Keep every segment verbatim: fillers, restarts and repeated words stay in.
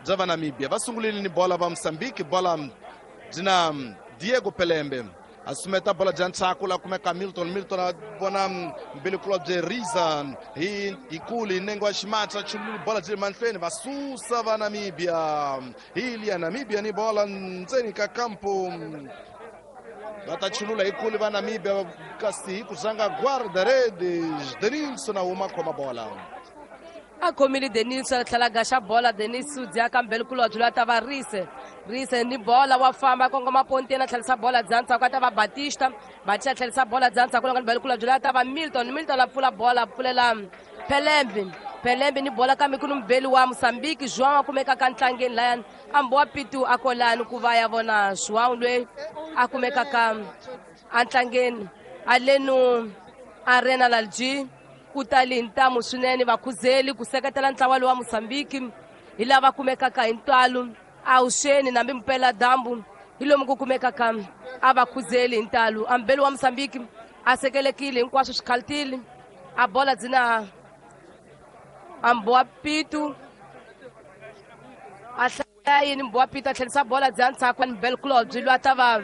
bya va Namibia. Va sungulile ni bola va Mozambique, bola byi na Diego Pelembe. A sumeta bola bya ntshaku la kumeka Milton. Milton a vona mbilikulobye Riza hi hikulu hi nenge wa ximatsa chululu bola byi le mahlweni va susa va Namibia. Hi liya Namibia ni bola ndzeni ka kampo. Va ta chulula hikulu va Namibia kasi hi ku zanga guarda-redes Denilson a huma khoma bola. A khomile Denilson a tlhela gaxa bola. Denis u dya ka mbelikulobye loyi a ta va Rise. Rise ni bola wa famba kongoma ponteni a tlherisa bola bya ndzhaku a ta va Batista. Batista a tlherisa bola bya ndzhaku loko mbelikulobye loyi a ta va Milton. Milton a pfula bola a pfulela Pelembe. Pelembe ni bola kambe ku ni mubeli wa Mozambique João a kumekaka ntlangeni layani. A mbowa pitu a kolani ku va ya vona João loyi a kumekaka entlangeni. Alenu Arena Lalji ku tali hi ntamu swinene vakhuzeli ku seketela ntlawa lowu wa Mozambique hi lava kumekaka hi ntalo awuxeni nambi mpela dyambu hi lomu ku kumekaka a vakhuzeli hi ntalo. A mbeli wa Mozambique a sekelekile hinkwaswo swi khaltile. A bola byi na a mbowa pitu a hlaya yini mbowa pitu a tlherisa bola bya ndzhaku mbeli kulobye loyi a ta va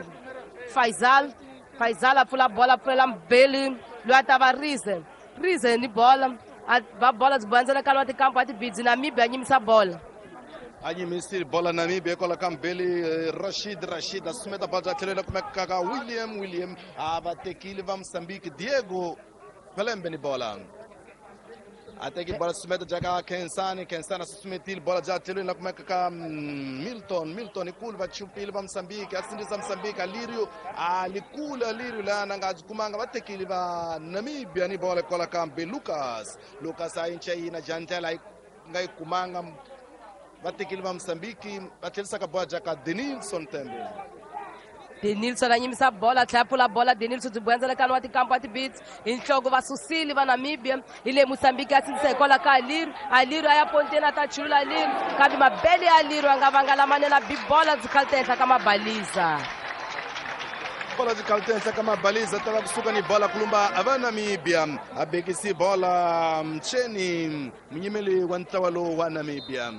Faisal. Faisal a pfula bola a pfulela mbeli loyi a ta va Rize. Rize ni bola a va bola byi bandzela ka tikampo a tibidzi Namibia a nyimisa bola. A nyimisile bola Namibia kwala ka mbeli Rashid. Rashid a sumeta bola bya tlhelo la kumeka ka William. William a va tekile va Mozambique Diego Pelembe ni bola. A teki bola sumeta bya ka Kensani. Kensani a susumetile bola bya tlhelweni la kumeka ka Milton. Milton ikulu va chupile va Mozambique a sindzisa Mozambique. Alirio a likulu Alirio lana nga byi kumanga va tekile va Namibia ni bola kwala ka Lucas. Lucas a yinca yina jandlela yi nga yi kumanga va tekile va Mozambique va tlherisaka bola bya ka Denilson Tembe. Denilson a nyimisa bola tlhela pfula bola. Denilson byi buyandzela ka wa tikampo a tibits hi nhloko va susile va Namibia. Hi le Mozambique a sindzisa hikwalaho ka Aliru. Aliru a ya ponteni a ta chulula Aliru kambe mabele ya Aliru a nga vanga lamanene a bi bola byi khalita henhla ka mabaliza. Bola byi khalita henhla ka mabaliza ta va kusuka ni bola kulumba va Namibia. A bekisi bola Mcheni munyimeli wa ntlawa lowu wa Namibia.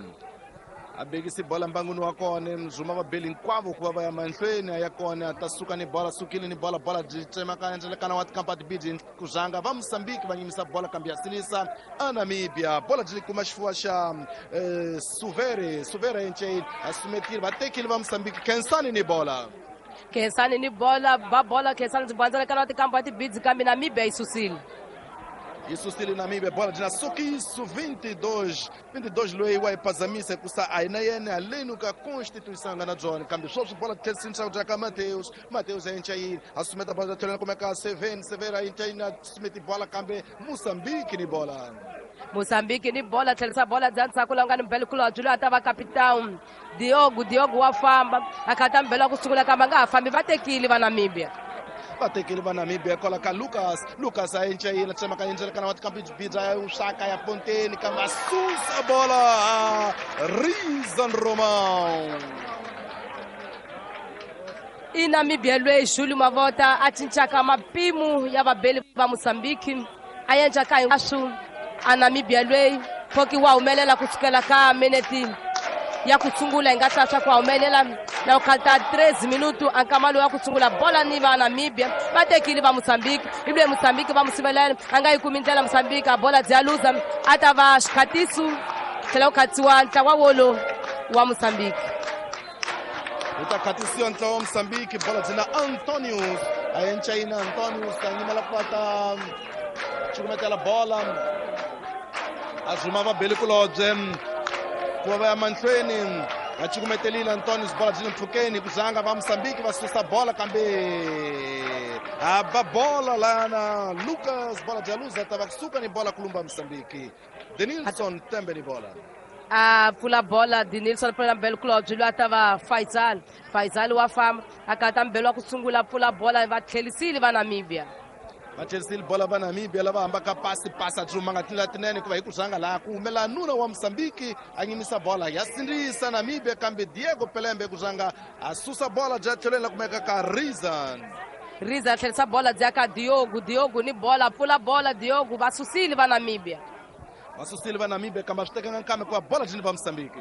A bekisi bola mbanguni wa kona mzuma va beli hinkwavo ku va va ya mahlweni ya kona ta suka ni bola sukile ni bola bola byi tsemakanya ndzelekana wa tikampa tibidi ku zanga va Mozambique va nyimisa bola kambe ya sinisa a Namibia. Bola byi kuma xifuwa xa eh, Suvere. Suvere enche a sumetile va tekile va Mozambique. Kensani ni bola. Kensani ni bola va bola Kensani byi bandzelekana wa tikampa tibidi kambe Namibia yi susile. Yi susile Namibia bola byi na sukiso vinte e dois vinte e dois loyi wa yi kusa a hina yena haleni ka constituição nga na byona kambe sweswi bola tlherisini bya ka Mateus. Mateus a yinca yini a sumeta bola bya tlhelweni kumeka Seven. Seven a yinca yini a sumeti bola kambe Mozambique ni bola. Mozambique ni bola tlherisa bola bya ndzhaku laha nga ni mbelikulobye loyi a ta va capitão Diogo. Diogo wa famba a khata mbeli wa ku sungula kambe a nga ha fambi va tekile va Namibia. Va tekile va Namibia kwala ka Lucas. Lucas a yinca yini tsemaka yindzelekana wa tikampi bidza ya usaka ya ponteni kambe a susa bola Rizan Romão. I Namibia loyi Julio Mavota a cincaka mapimo ya vabeli va Mozambique a endlaka hinkwaswo. A Namibia loyi foki wa humelela kusukela ka minete ya ku sungula hi nga ta swa ku humelela na ku khalita treze minuto a nkama lowu ya ku sungula bola ni va Namibia va tekile va Mozambique. Hi loyi Mozambique va musivelela a nga yi kumi ndlela Mozambique a bola bya luza a ta va xikhatiso tlhela ku khatiwa ntlawa wolo wa Mozambique. Wu ta khatisiwa ntlawa wa Mozambique. Bola byi na Antonius a yenca yina Antonius a nyimela ku va ta cukumetela bola a zuma va belikulobye ku va va ya mahlweni va cukumetelile Antonius bola byi le mpfhukeni ku zanga va Mozambique va susa bola kambe a ba bola lana Lucas bola bya luza ta va kusuka ni bola kulumba Mozambique. Denilson Tembe ni bola. A pfula bola Denilson pfulela mbelikulobye loyi a ta va Faisal. Faisal wa famba a kata mbeli wa ku sungula pfula bola va tlherisile va Namibia. Va tlherisile bola va Namibia lava hambaka pasi pasi a dzumanga tindlela tinene hikuva hi ku zanga laha ku humela nuna wa Mozambique a nyimisa bola ya sindzisa Namibia kambe Diego Pelembe ku zanga a susa bola bya tlhelweni la kumeka ka Rizan. Riza tlherisa bola bya ka Diogo. Diogo ni bola pfula bola Diogo va susile va Namibia. Va susile va Namibia kambe a swi tekanga nkarhi hikuva bola byi ni va Mozambique.